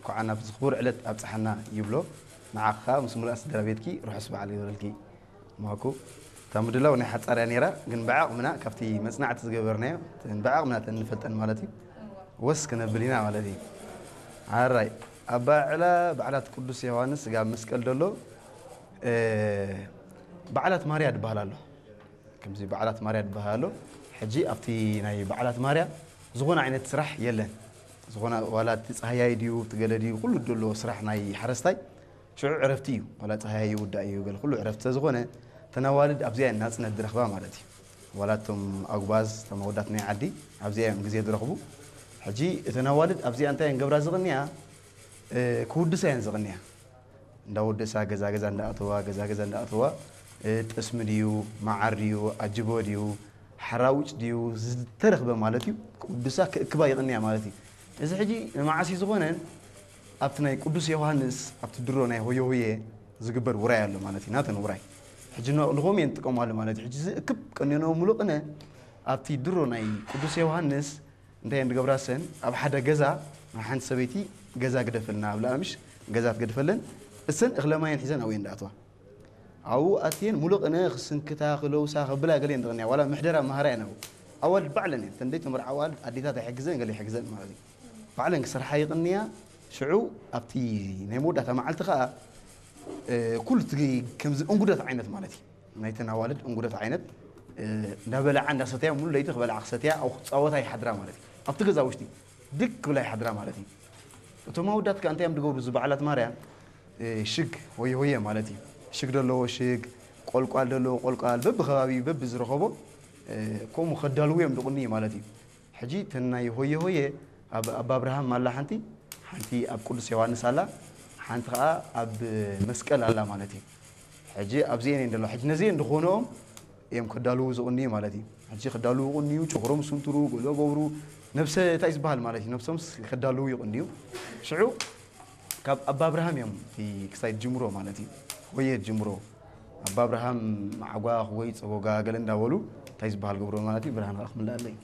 ብዓና ኣብዚ ክቡር ዕለት ኣብጽሓና ይብሎ። ንዓኻ ምስ ሙሉእ ስድራ ቤትኪ ርሑስ በዓል ይበልኪ። ማኩ እታ ምድላው ናይ ሓጻር እያ ነይራ፣ ግን ብዓቕምና ካብቲ መጽናዕቲ ዝገበርናዮ፣ እተን ብዓቕምና እተን ንፈልጠን ማለት እዩ፣ ወስ ክነብል ኢና ማለት እዩ። ኣራይ፣ ኣብ ባዕላ በዓላት ቅዱስ ዮሃንስ ስጋብ መስቀል ደሎ፣ እ፣ በዓላት ማርያ ድበሃል ኣሎ። ከምዚ በዓላት ማርያ ድበሃል ኣሎ። ሕጂ ኣብቲ ናይ በዓላት ማርያ ዝኾነ ዓይነት ስራሕ የለን። ዝኾነ ዋላ እቲ ጸሃያይ ድዩ፣ እቲ ገለ ድዩ፣ ኩሉ ደሎ ስራሕ ናይ ሓረስታይ ሽዑ ዕረፍቲ እዩ። ዋላ ጸሃያይ ይውዳእ እዩ፣ ገለ ኩሉ ዕረፍቲ ስለዝኾነ፣ እተን ኣዋልድ ኣብዚኣ እየን ናጽነት ዝረኽባ ማለት እዩ። ዋላ እቶም ኣጉባዝ፣ እቶም ኣወዳት ናይ ዓዲ ኣብዚኣ እዮም ግዜ ዝረኽቡ። ሕጂ እተን ኣዋልድ ኣብዚኣ እንታይ እየን ገብራ ዝቕንያ? እ፣ ክውድሳ እየን ዝቕንያ። እንዳወደሳ ገዛ ገዛ እንዳኣተዋ፣ ገዛ ገዛ እንዳኣተዋ፣ እ፣ ጠስሚ ድዩ፣ መዓር ድዩ፣ ኣጅቦ ድዩ፣ ሓራውጭ ድዩ፣ ዝተረኽበ ማለት እዩ። ክውድሳ ክእክባ ይቕንያ ማለት እዩ። እዚ ሕጂ ንመዓስ እዩ ዝኾነ? ኣብቲ ናይ ቅዱስ ዮሃንስ፣ ኣብቲ ድሮ ናይ ሆየ ሆየ ዝግበር ውራይ ኣሎ ማለት እዩ። ናተን ውራይ። ሕጂ ን-፣ ንኸም እየን ጥቀማሉ ማለት እዩ። ሕጂ እዚ እክብ ቀንየንኦ ሙሉእ ቅነ ኣብቲ ድሮ ናይ ቅዱስ ዮሃንስ እንታይ እየን ዝገብራ እሰን? ኣብ ሓደ ገዛ ሓንቲ ሰበይቲ ገዛ ግደፈልና ኣብ ለኣምሽ ገዛ ትገድፈለን። እሰን እኽለ ማየን ሒዘን ኣብኡ እየን ዝኣትዋ። ኣብኡ ኣትየን ሙሉእ ቅነ ክስንክታ፣ ክለውሳ፣ ክብላ ገለ እየን ዝቕንያ። ዋላ ምሕደራ መሃራ እየን ኣብኡ። ኣዋልድ ባዕለን እየን። እተን ዘይተመርዓ ኣዋልድ ኣዴታት ኣይሕግዘን፣ ገለ ይሕግዘን ማለት እዩ። ባዕለን ክሰርሓ ይቕንያ። ሽዑ ኣብቲ ናይ መወዳእታ መዓልቲ ኸኣ፣ እ፣ ኩሉ እቲ ከምዚ እንጉደት ዓይነት ማለት እዩ። ናይተን ኣዋልድ እንጉደት ዓይነት፣ እ፣ እንዳበልዓ እንዳሰተያ፣ ሙሉ ለይቲ ክበልዓ ክሰትያ፣ ኣብኡ ክጻወታ ይሓድራ ማለት እዩ። ኣብቲ ገዛ ውሽጢ ድክ ክብላ ይሓድራ ማለት እዩ። እቶም ኣወዳት ከኣ እንታይ እዮም ዝገብሩ? እዚ በዓላት ማርያ፣ እ፣ ሽግ ሆየ ሆየ ማለት እዩ። ሽግ ዘለዎ ሽግ፣ ቆልቋል ዘለዎ ቆልቋል፣ በብኸባቢኡ በብዝረኸቦ፣ እ፣ ከምኡ ከዳልዉ እዮም ዝቕንዩ ማለት እዩ። ሕጂ እተን ናይ ሆየ ሆየ ኣብ፣ ኣብ ኣብርሃም ኣላ ሓንቲ፣ ሓንቲ ኣብ ቅዱስ ዮሃንስ ኣላ፣ ሓንቲ ኸኣ ኣብ መስቀል ኣላ ማለት እዩ። ሕጂ ኣብዚኤን እየን ዘለዋ። ሕጂ ነዚኤን ዝኾነኦም እዮም ከዳልዉ ዝቕንዩ ማለት እዩ። ሕጂ ከዳልዉ ይቕንዩ፣ ጨጉሮም ስንትሩ፣ ገለ ገብሩ፣ ነብሰ እንታይ ዝበሃል ማለት እዩ፣ ነብሶምስ ከዳልዉ ይቕንዩ። ሽዑ ካብ ኣባ ኣብርሃም እዮም እቲ ክሳይ ጅምሮ ማለት እዩ። ሆየ ጅምሮ። ኣባ ኣብርሃም ማዕጓ ወይ ጸጎጋ ገለ እንዳበሉ እንታይ ዝበሃል ገብሮ ማለት እዩ። ብርሃን ከኣ ክምልኣለይ።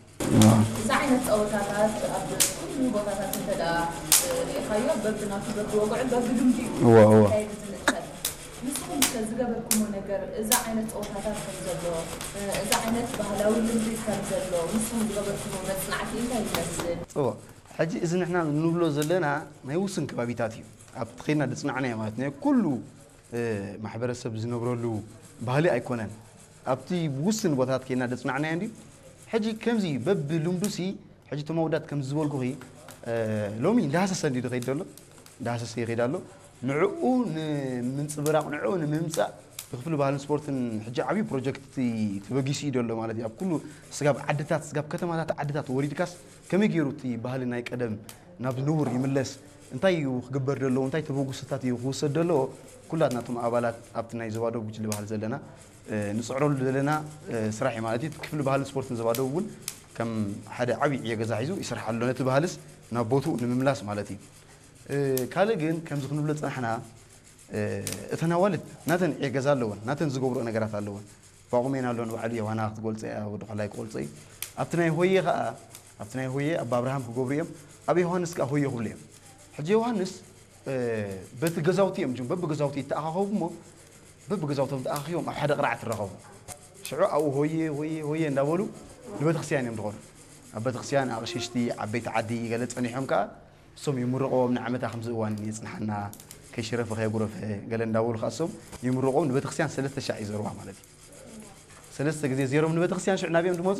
እዛ ዓይነት ጸወታታት ኣብ ኩሉ ቦታታት እንተ ደኣ ርኢኻዮ፣ በብናቱ፣ በብወግዑ፣ በብልምዲ እዩ እወ፣ እወ። ክካየድ ዝንጸል። ንስኹም ከ ዝገበርኩሞ ነገር፣ እዛ ዓይነት ጸወታታት ከም ዘሎ፣ እዛ ዓይነት ባህላዊ ልምዲ ከም ዘሎ፣ ንስኹም ዝገበርኩሞ መጽናዕቲ እንታይ ይመስል? ጽቡቕ። ሕጂ እዚ ንሕና ንብሎ ዘለና ናይ ውሱን ከባቢታት እዩ። ኣብቲ ኸይድና ዝጽናዕናዮ ማለት ናይ ኩሉ፣ እ፣ ማሕበረሰብ ዝነብረሉ ባህሊ ኣይኮነን። ኣብቲ ውስን ቦታታት ኬድና ዘጽናዕናዮ እንድዩ። ሕጂ ከምዚ በብልምዱሲ፣ ሕጂ እቶም ኣወዳት ከምዚ ዝበልኩኺ፣ እ፣ ሎሚ እንዳሃሰሰ እንድዩ ዝኸይድ ዘሎ፣ እንዳሃሰሰ ይኸይድ ኣሎ። ንዕኡ ንምንጽብራቕ፣ ንዕኡ ንምምጻእ ብክፍሊ ባህልን ስፖርትን ሕጂ ዓብዪ ፕሮጀክት ተበጊሱ እዩ ዘሎ ማለት እዩ። ኣብ ኩሉ ስጋብ ዓድታት፣ ስጋብ ከተማታት ዓድታት ወሪድካስ ከመይ ገይሩ እቲ ባህሊ ናይ ቀደም ናብ ንቡር ይምለስ? እንታይ እዩ ክግበር ዘለዎ? እንታይ ተበግሶታት እዩ ክውሰድ ዘለዎ? ኩላትና እቶም ኣባላት ኣብቲ ናይ ዞባ ደቡብ ጉጅለ ባህሊ ዘለና፣ እ፣ ንጽዕረሉ ዘለና፣ እ፣ ስራሕ እዩ ማለት እዩ። ክፍሊ ባህልን ስፖርትን ዞባ ደቡብ እውን ከም ሓደ ዓብዪ ዕዮ ገዛ ሒዙ ይሰርሓሉ ኣሎ። ነቲ ባህልስ ናብ ቦትኡ ንምምላስ ማለት እዩ። እ፣ ካልእ ግን ከምዚ ክንብሎ ዝጸናሕና፣ እ፣ እተን ኣዋልድ ናተን ዕዮ ገዛ ኣለወን፣ ናተን ዝገብርኦ ነገራት ኣለወን። ባቑሜን ኣሎ ንባዕሉ ዮሃና ክትገልጾ እያ፣ ወዲ ኳላይ ክገልጾ እዩ። ኣብቲ ናይ ሆየ ኸኣ፣ ኣብቲ ናይ ሆየ ኣባ ኣብርሃም ክገብሩ እዮም፣ ኣብ ዮሃንስ ከኣ ሆየ ክብሉ እዮም። ሕጂ ዮሃንስ፣ እ፣ በቲ ገዛውቲ እዮም ጅም-፣ በብገዛውቲ ይተኣኻኸቡ እሞ፣ በብገዛውቶም ተኣኻኺቦም ኣብ ሓደ ቅርዓት ይራኸቡ። ሽዑ ኣብኡ ሆየ፣ ሆየ፣ ሆየ እንዳበሉ ንቤተክርስትያን እዮም ዝኸዱ። ኣብ ቤተክርስትያን ኣቕሽሽቲ፣ ዓበይቲ ዓዲ ገለ ጸኒሖም ከኣ እሶም ይምርቕዎም፣ ንዓመታ ከምዚ እዋን የጽንሓና፣ ከይሽረፈ ከየጉረፈ ገለ እንዳበሉ ከኣ እሶም ይምርቕዎም። ንቤተክርስትያን ሰለስተ ሻዕ ይዘርዋ ማለት እዩ። ሰለስተ ግዜ ዜሮም ንቤተክርስትያን ሽዑ ናብዮም ዝመጹ፣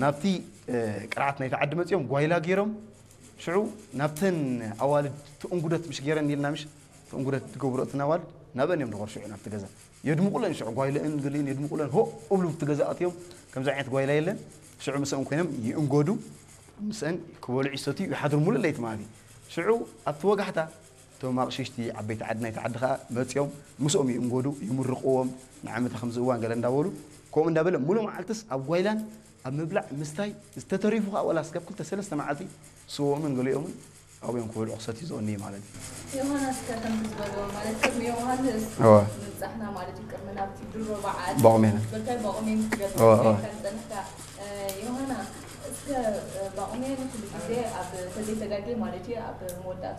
ናብቲ፣ እ፣ ቅርዓት ናይቲ ዓዲ መጺኦም ጓይላ ገይሮም፣ ሽዑ ናብተን ኣዋልድ ትእንጉደት ምሽ ገይረን ኢልና ምሽ ትእንጉደት ዝገብሮ እተን ኣዋልድ ናብአን እዮም ዝኸዱ ሽዑ ናብቲ ገዛ። የድምቑለን ሽዑ ጓይለአን ገሊአን የድምቑለን፣ ሆ እብሉ ኣብቲ ገዛ ኣትዮም፣ ከምዚ ዓይነት ጓይላ የለን። ሽዑ ምስአን ኮይኖም ይእንጎዱ፣ ምስአን ክበልዑ ይሰትዩ ይሓድሩ ሙሉእ ለይቲ ማለት እዩ። ሽዑ ኣብቲ ወጋሕታ እቶም ኣቕሽሽቲ ዓበይቲ ዓዲ ናይቲ ዓዲ ኸኣ መጺኦም ምስኦም ይእንጎዱ፣ ይምርቕዎም፣ ንዓመታ ከምዚ እዋን ገለ እንዳበሉ፣ ከምኡ እንዳበለ ሙሉእ መዓልትስ ኣብ ጓይላን ኣብ ምብላዕ ምስታይ፣ ዝተተሪፉ ኸኣ ዋላ ስጋብ ክልተ ሰለስተ መዓልቲ ስወኦምን ገሊኦምን ኣብኡ እዮም ክበልዑ ክሰትዩ ዝቕንዩ ማለት እዩ። ዮሃንስ ከ ከምቲ ዝበልዎ ማለት ቅድሚ ዮሃንስ እወ። ምብጻሕና ማለት እዩ፣ ቅድሚ ናብቲ ድሮ በዓል ባቑሜና። በካይ ባቑሜን ክትገልጽ እወ፣ እወ። ከም ጸንሕካ፣ እ፣ ዮሃና፣ እስከ፣ እ፣ ባቑሜን ኩሉ ግዜ ኣብ ተዘይተጋጌ ማለት እዩ ኣብ መወዳእታ